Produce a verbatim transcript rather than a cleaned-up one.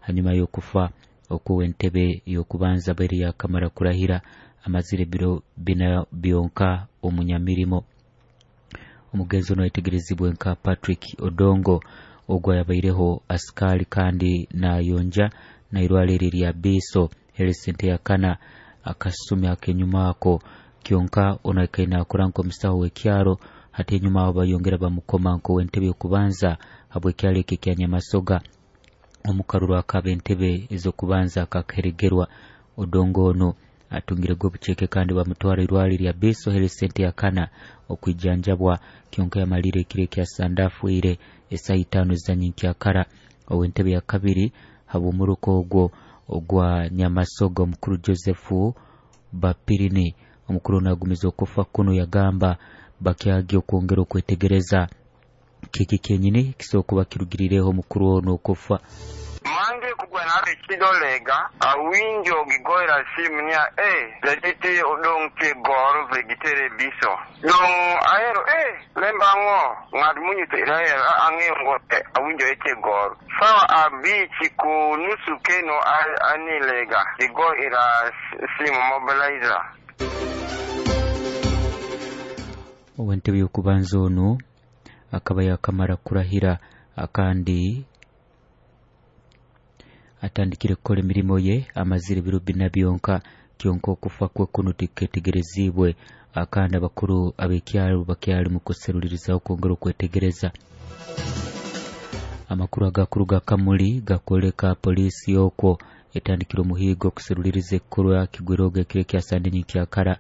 Hanyuma y'okufa okw'ow'entebe y'okubanza abaire yakamara kurahira amazire ebiro bina byonka omunyamirimo. Omugenzi ono ayetegerezibwe nka Patrick Odongo, ogwo yabaireho asikaali kandi nayonja nairwaro eri erya Biiso Health Center yakana akasumi ak'enyuma ako. Kyonka ono akaire nakora nk'omusaho w'ekyaro, hati enyuma aho bayongera bamukoma nk'ow'entebe y'okubanza habw'ekyaro eki ekya Nyamasoga omukaruru ak'ab'entebe ez'okubanza akakaheregerwa. Odongo ono atungirege obuceeke kandi bamutwara irwaro erya Biiso Health Center yakana okwijanjabwa, kyonka yamalire ekiro ekya Sande afiire esaaha itaano ezanyenkyakara. Ow'entebe ya kabiri habw'omuruka ogwo ogwa Nyamasoga, omukuru Joseph Bapirini, omukuru ono agumiza okufa kunu, yagamba bakyagya okwongera okwetegereza kiki kyenyini kisobola kuba kirugirireho omukuru ono okufa. Mange kugwena chidolega awinjo gigoera simu niya e jaditi odong tie goro vegitere biso dong ahero e lembango ng'at munyuso iraero ang'eyo ngo awinjo etie goro sawa abich ku nusu keno anilega gigo ira simu mobilizer. Ow'entebe y'okubanza ono akaba yakamara kurahira kandi atandikire kukora emirimo ye amazire ebiro bina byonka, kyonka okufa kwe kuno tiketegerezibwe kandi abakuru ab'ekyaro bakyali mu kuserulirizaho kwongera okwetegereza. Amakuru agakuruga Kamuli gakwoleka poliisi okwo etandikire omuhiigo okuseruliriza ekikorwa kigwiroga ekiro ekya Sande nyenkyakara.